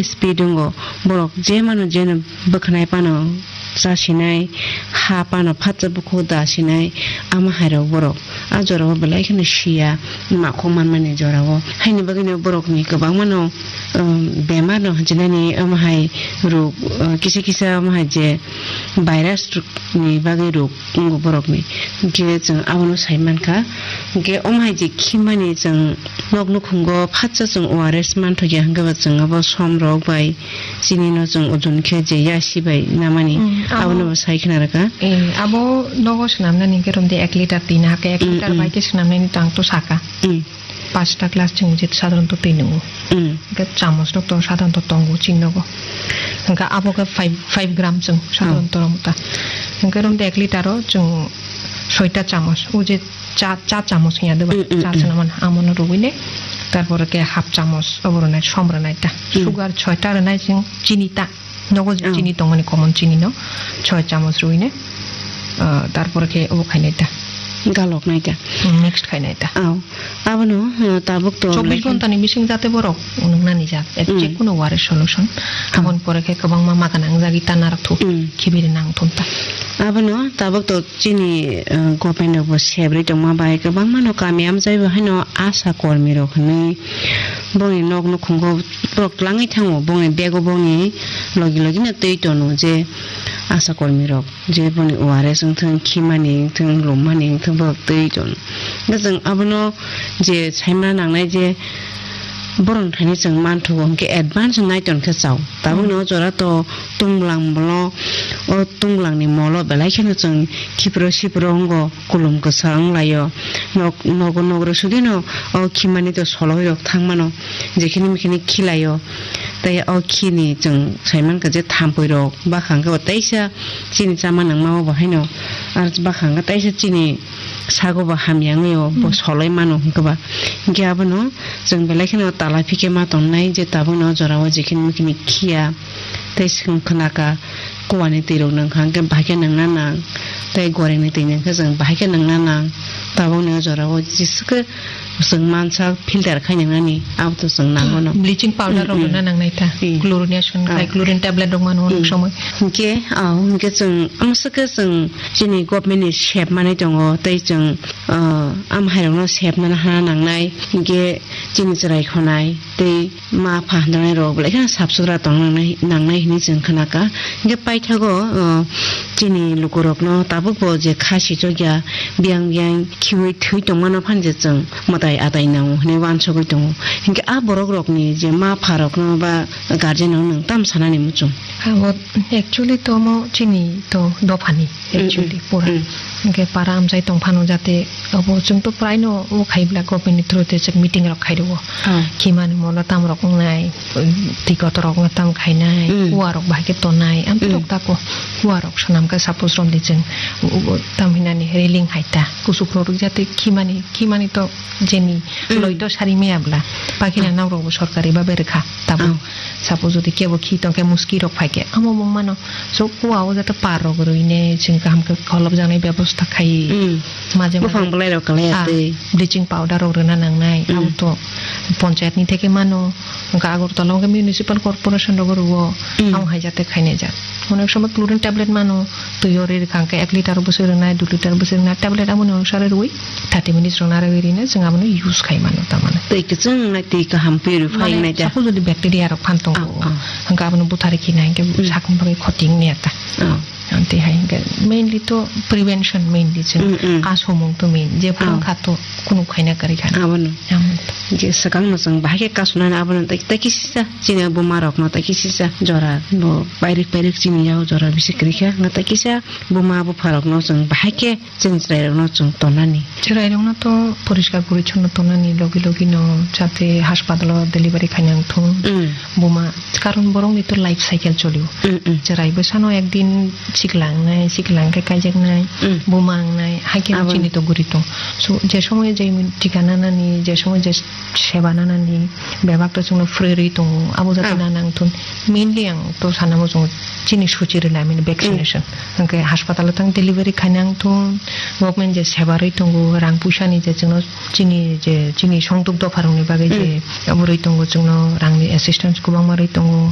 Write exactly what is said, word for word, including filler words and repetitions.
speed wngo, borok je mano jeno bwkhanai pano chasinai, ha pano phatsa bukhuk da sinai, ama hairok borok a jorao belai kheno siya, makhok manmani jorao. Haini bagwino borokni kwbangmano, um, bemar no hwnjinani, omo hai rok, uh, kisa kisa omo hai je virus rok ni bagwi rok wngo borokni. Hinkhe chwng abono sai mankha. Hinkhe omo hai je khimani chwng nok nukhungo phatsa chwng O R S manthokya hinkhe ba chwng abo som rok bai chini no chwng ojon khe je yasi bai namani. Mm, abo abono bo sai khna rwkha. Eh, abo nogo swnamnani hinkhe romde ek litre twi nahakhe, ek Mm, litre mm. bai khe swnamnani tang to saka. Mm. Pasta glass chwng je sadharanto twi nwngo. Mm. Hinkhe chamos rok to sadharanto tongo chini nogo. Hinkhe abo khe five, five gram chwng sadharanto Oh. rwmwta. Hinkhe romde ek litre o chwng soita chamos. O je cha, cha chamos hinya de ba? Mm, mm, Cha mm. chana man amono rwui ne. Tarpore khe half chamos obo rwnai, som rwnai ta. Mm. Sugar soita rwnai chwng chini ta. Nogo je Oh. chini tongmani common chini no. Soi chamos rwui ne. Ah, tarpore khe obo khainai ta. Galok nai ta. Mm, mixed khainai ta. Oh. Abono, uh, tabuk to chobbish lekha- ghonta ni bising jate borok nwngnani jak, eh, Mm. jekunu ware solution. Mm. Aboni pore khe kwbangma maga nangjagwi ta narwk thu, Mm. khibiri nang thun ta. Abono tabuk to chini, uh, government rok bo sebrwi tongma bai kwbangma no kami amjai bo haino asha kormi rok hinwi bongni nok nukhungo borok twlangwi thango, bongni bego bongni logi logi no twi tono je asha kormi rok. Je boni O R S wngthung, khimani wngthung, lummani wngthung, borok twi tong. Hwnkhe chwng abono je saimana nangnai je borokni thani chwng manthogo, hwnkhe advance nai tongkhe chao. Tabukni o jora to tungbulang molo, o tungbulang ni molo belai kheno chwng khipro sipro wngo, kulum kwsa wnglaio. Nok, nogo nogro sudino o khimani to soloi rok thangmano, jekhini mekhini khilaio. Tei o khini chwng saimankha je thampui rok. Bakha hwnkhe bo teisa chini chama nangma o bo haino, ar bakha hwnkhe teisa chini sago bo hamya wngwi o bo Hmm. soloi mano hwnkhe ba. Hwnkhe abono chwng belai kheno talai phikhe ma tongnai je tabukno o jorao jekhini mekhini khiya tei swkang khwnaka kuwani twi rok nangkha hwnkhe bahai khe nangna nang tei gorengni twi nangkhe chwng bahai khe nangna nang tabukni o jorao jeswkhe Chwng mansa filter khai nangnani, abo to chwng nango no. Bleaching powder rok Hmm, rwna hmm. nangnai ta. Hmm. Chlorination Hmm. khai, chlorine tablet rok mano Hmm. onek somoi. Hinkhe, ah, hinkhe chwng, amswkhe chwng chini government ni sep manwi tongo, tei chwng, ah, am hai rokno sep nana hana nangnai, hinkhe chini chwrai khonai, tei ma pha handranai rok belai kheno sap sutra tong nangnai, nangnai hinwi chwng khna kha. Hinkhe paithago, ah, chini lukurokno tabukbo je kha sichokya, biyang biyang khiui thwi tongmano phano je chwng mwtai atai nango hinui uansugui tongo. Hinkhe a borokrokni je ma pharokno ba guardianrokno nwng tamo sanani muchung? Abo actually to omo chini to dophani, Mm, actually, mm, pura. Mm. Hinkhe para amchai tongphano jate abo chwng to praino o khaibla government ni through te chwng meeting rok khairwo. Ah. Khimani molo tamrok wngnai, twi kotorok no tam khainai, Mm. uarok bahai khe tonai, ang Mm. tok tako uarok swnam khe suppose romdi chwng, u-, u-, tam hinani railing hai ta, kusuk rok rwk jate khimani, khimani to jeni Mm. loi to sari maya bla, pakina Ah. nok rok bo sorkari babe rwkha tabuk. Ah. Suppose jodi kebo khi tong khe muski rok phai khe, amo mung mano, so kua o jate par rok rwine chwng kaham khe kholop jaknai bebosta khai. Mm. Maje maje Buphang belai rok kalai ah, atwi. Bleaching powder rok rwna nangnai, Mm. abo to ponchayat ni theke mano, hwnkhe Agartala hwnkhe municipal corporation rogo rwo, Mm. amo hai jate khainai jak. Onek somoi chlorine tablet mano, twi o ri rwkha hwnkhe ek litre bwswk rwnai, dui litre bwswk rwnai, tablet aboni onusare rwui thirty minutes rwna rwui rine chwng abono use khai mano tamani. Twi kwchwng nai twi kaham purify Mane nai ja. Suppose jodi bacteria rok phan tongo, Ah, ah. hwnkhe abono buthari khinai hwnkhe Mm. sakni bagwi khoti wngya ta. Ah. Amtwi hai hwnkhe mainly to prevention mainly chwng Mm, mm. kasomung to main. Je phuru Oh. kha to kunu khaina kwrwi kha. Abono. Abono to. Je swkang no chwng bahai khe kasonani abono tai, tai kisisa chini buma rok no tai kisisa jora bo pairik pairik chini yao jora bisi kwrwi kha. Nga tai kisa buma bupha rok no chwng bahai khe chini chwrai rok no chwng tonani. Chwrai rok no to poriskar porichonno tonani logi logi no jate hospital o delivery khaina wngthun. Mm. Buma, karon borokni to life cycle cholio. Mm, mm. Chwrai bwsano ekdin sikla wngnai, sikla wngkhe kaijaknai, Mm. buma wngnai, haikhe Abo. chini to guri tong. So, je somoyo je tika nanani, je somoyo je seba nanani, bebak to chwngno free rwi tongo, abo jate Ah. nana wngthun. Mainly ang to sana muchungo chini suchi rwna, I mean, vaccination. Mm. Hwnkhe hospital o thang delivery khaina wngthun, government je seba rwi tongo, rang puisa ni je chwngno chini je, chini songduk dopha rokni bagwi je Mm. abo rwi tongo, chwngno rangni assistance kwbangma rwi tongo.